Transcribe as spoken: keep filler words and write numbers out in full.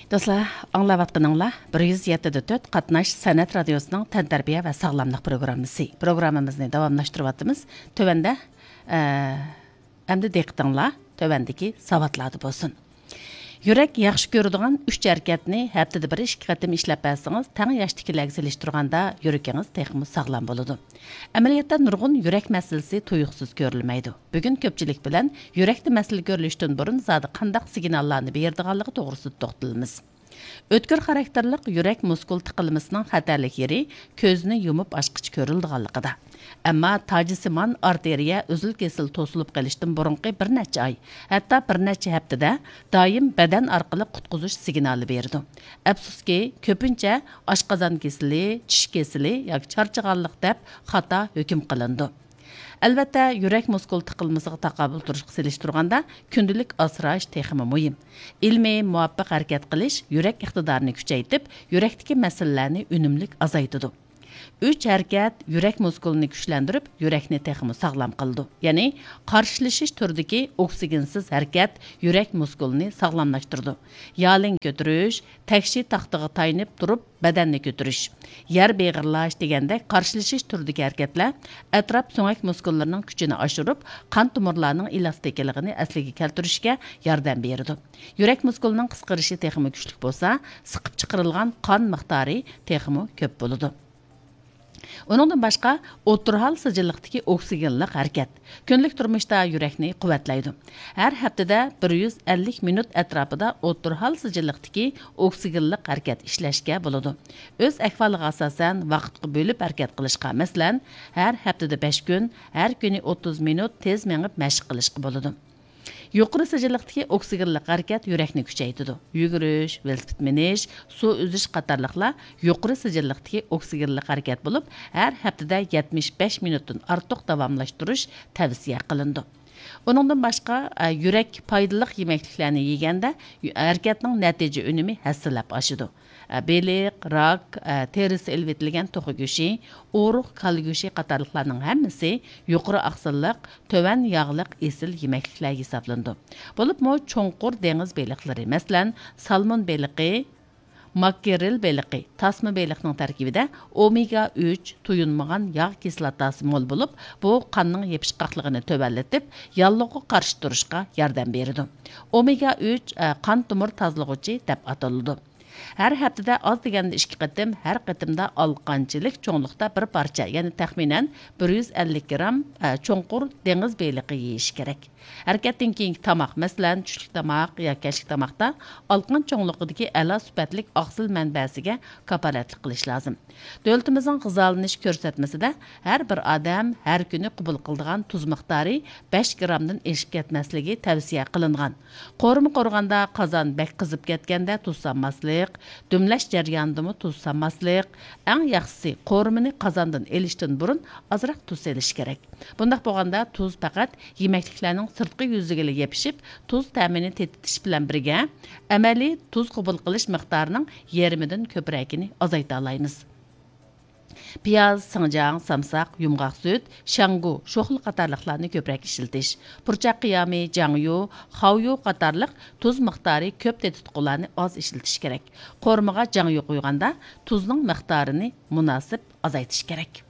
دوستلار، ئاڭلاۋاتقىنىڭلار بىر يۈز يەتتە دە تۆت قاتناش سەنئەت رادىيوسىنىڭ تەنتەربىيە ۋە ساغلاملىق پروگراممىسى. پروگراممىمىزنى داۋاملاشتۇرۇۋاتىمىز. تۆۋەندە، ئە، ئەمدى دىققىتىڭلار تۆۋەندىكى ساۋاتلاردا بولسۇن. يۈرەك ياخشى كۆرىدىغان ئۈچ ھەرىكەتنى ھەپتىدە بىر ئىككى قېتىم ئىشلەپ بەرسىڭىز، تەڭ ياشتىكىلەرگە سېلىشتۇرغاندا يۈرىكىڭىز تېخىمۇ ساغلام بولىدۇ. ئەمەلىيەتتە نۇرغۇن يۈرەك مەسىلىسى تۇيۇقسىز كۆرۈلمەيدۇ. بۈگۈن كۆپچىلىك بىلەن يۈرەكتە مەسىلە كۆرۈلۈشتىن بۇرۇن زادى قانداق سىگناللارنى بېرىدىغانلىقى توغرىسىدا توختىلىمىز. ئۆتكۈر خاراكتېرلىق يۈرەك مۇسكۇل تىقىلمىسىنىڭ خەتەرلىك يېرى كۆزنى يۇمۇپ ئاچقىچە كۆرۈلىدىغانلىقىدا. ئەمما تاجسىمان ئارتېرىيە ئۈزۈل-كېسىل توسۇلۇپ قېلىشتىن بۇرۇنقى بىر نەچچە ئاي، ھەتتا بىر نەچچە ھەپتىدە دائىم بەدەن ئارقىلىق قۇتقۇزۇش سىگنالى بېرىدۇ. ئەپسۇسكى، كۆپىنچە ئاشقازان كېسىلى، چىش كېسىلى ياكى چارچىغانلىق دەپ خاتا ھۆكۈم قىلىنىدۇ. ئەلۋەتتە، يۈرەك مۇسكۇل تىقىلمىسىغا تاقابىل تۇرۇشقا سېلىشتۇرغاندا كۈندىلىك ئاسراش تېخىمۇ مۇھىم. ئىلمىي، مۇۋاپىق ھەرىكەت قىلىش يۈرەك ئىقتىدارىنى كۈچەيتىپ، يۈرەكتىكى مەسىلىلەرنى ئۈنۈملۈك ئازايتىدۇ. ئۈچ ھەرىكەت يۈرەك مۇسكۇلىنى كۈچلەندۈرۈپ، يۈرەكنى تېخىمۇ ساغلام قىلىدۇ. يەنى قارشىلىشىش تۈرىدىكى ئوكسىگېنسىز ھەرىكەت يۈرەك مۇسكۇلىنى ساغلاملاشتۇرىدۇ. يالىڭ كۆتۈرۈش، تەكشى تاختىغا تايىنىپ تۇرۇپ بەدەننى كۆتۈرۈش، يەر بېغىرلاش دېگەندەك قارشىلىشىش تۈرىدىكى ھەرىكەتلەر ئەتراپ سۆڭەك مۇسكۇللىرىنىڭ كۈچىنى ئاشۇرۇپ، قان تومۇرلارنىڭ ئېلاستىكىلىقىنى ئەسلىگە كەلتۈرۈشكە ياردەم بېرىدۇ. يۈرەك مۇسكۇلىنىڭ قىسقىرىشى تېخىمۇ كۈچلۈك بولسا، سىقىپ چىقىرىلغان قان مىقدارى تېخىمۇ كۆپ بولىدۇ. ئۇنىڭدىن باشقا، ئوتتۇرا ھال سىجىللىقتىكى ئوكسىگېنلىق ھەرىكەت كۈندىلىك تۇرمۇشتا يۈرەكنى قۇۋۋەتلەيدۇ. ھەر ھەپتىدە بىر يۈز ئەللىك مىنۇت ئەتراپىدا ئوتتۇرا ھال سىجىللىقتىكى ئوكسىگېنلىق ھەرىكەت ئىشلەشكە بولىدۇ. ئۆز ئەھۋالىغا ئاساسەن ۋاقىتقا بۆلۈپ ھەرىكەت قىلىشقا، مەسىلەن، ھەر ھەپتىدە بەش كۈن، ھەر كۈنى ئوتتۇز مىنۇت تېز مېڭىپ مەشىق قىلىشقا بولىدۇ. يۇقىرى سىجىللىقتىكى ئوكسىگېنلىق ھەرىكەت يۈرەكنى كۈچەيتىدۇ. يۈگۈرۈش، ۋېلىسىپىت مىنىش، سۇ ئۈزۈش قاتارلىقلار يۇقىرى سىجىللىقتىكى ئوكسىگېنلىق ھەرىكەت بولۇپ، ھەر ھەپتىدە يەتمىش بەش مىنۇتتىن ئارتۇق داۋاملاشتۇرۇش تەۋسىيە قىلىنىدۇ. ئۇنىڭدىن باشقا، ئە، يۈرەك پايدىلىق يېمەكلىكلەرنى يېگەندە، يۈ-، ھەرىكەتنىڭ نەتىجە ئۈنۈمى ھەسسىلەپ ئاشىدۇ. ئە، بېلىق، راك، ئە، تېرىسى ئېلىۋېتىلگەن توخۇ گۆشى، ئورۇق كالا گۆشى قاتارلىقلارنىڭ ھەممىسى يۇقىرى ئاقسىللىق، تۆۋەن ياغلىق ئېسىل يېمەكلىكلەر ھېسابلىنىدۇ. بولۇپمۇ چوڭقۇر دېڭىز بېلىقلىرى، مەسىلەن، سالمون بېلىقى، ماكرېل بېلىقى، تاسما بېلىقنىڭ تەركىبىدە ئومېگا ئۈچ تويۇنمىغان ياغ كىسلاتاسى مول بولۇپ، بۇ قاننىڭ يېپىشقاقلىقىنى تۆۋەنلىتىپ، ياللۇغىغا قارشى تۇرۇشقا ياردەم بېرىدۇ. ئومېگا ئۈچ، ئە، قان تومۇر تازىلىغۇچى دەپ ئاتىلىدۇ. ھەر ھەپتىدە ئاز دېگەندە ئىككى قېتىم، ھەر قېتىمدا ئالىقانچىلىك چوڭلۇقتا بىر پارچە، يەنى تەخمىنەن بىر يۈز ئەللىك گرام، ئە، چوڭقۇر دېڭىز بېلىقى يېيىش كېرەك. ھەرىكەتتىن كېيىنكى تاماق، مەسىلەن، چۈشلۈك تاماق يا كەچلىك تاماقتا ئالىقان چوڭلۇقىدىكى ئەلا سۈپەتلىك ئاقسىل مەنبەسىگە كاپالەتلىك قىلىش لازىم. دۆلىتىمىزنىڭ غىزالىنىش كۆرسەتمىسىدە ھەر بىر ئادەم ھەر كۈنى قوبۇل قىلىدىغان تۇز مىقدارى بەش گرامدىن ئېشىپ كەتمەسلىكى تەۋسىيە قىلىنغان. قورۇما قورۇغاندا قازان بەك قىزىپ كەتكەندە تۇز سالماسلىق، دۈملەش جەريانىدىمۇ تۇز سالماسلىق، ئەڭ ياخشىسى قورۇمىنى قازاندىن ئېلىشتىن بۇرۇن ئازراق تۇز سېلىش كېرەك. بۇنداق بولغاندا تۇز پەقەت يېمەكلىكلەرنىڭ سىرتقى يۈزىگىلا يېپىشىپ، تۇز تەمىنى تېتىتىش بىلەن بىرگە، ئەمەلىي تۇز قوبۇل قىلىش مىقدارىنىڭ يېرىمىدىن كۆپرەكىنى ئازايتالايمىز. پىياز، سىڭجاڭ، سامساق، يۇمغاق سۈت، شاڭگۇ، شوخلا قاتارلىقلارنى كۆپرەك ئىشلىتىش. پۇرچاق قىيامى، جاڭيۇ، خاۋيۇ قاتارلىق تۇز مىقدارى كۆپ تېتىتقۇلارنى ئاز ئىشلىتىش كېرەك. قورۇمىغا جاڭيۇ قۇيغاندا تۇزنىڭ مىقدارىنى مۇناسىپ ئازايتىش كېرەك.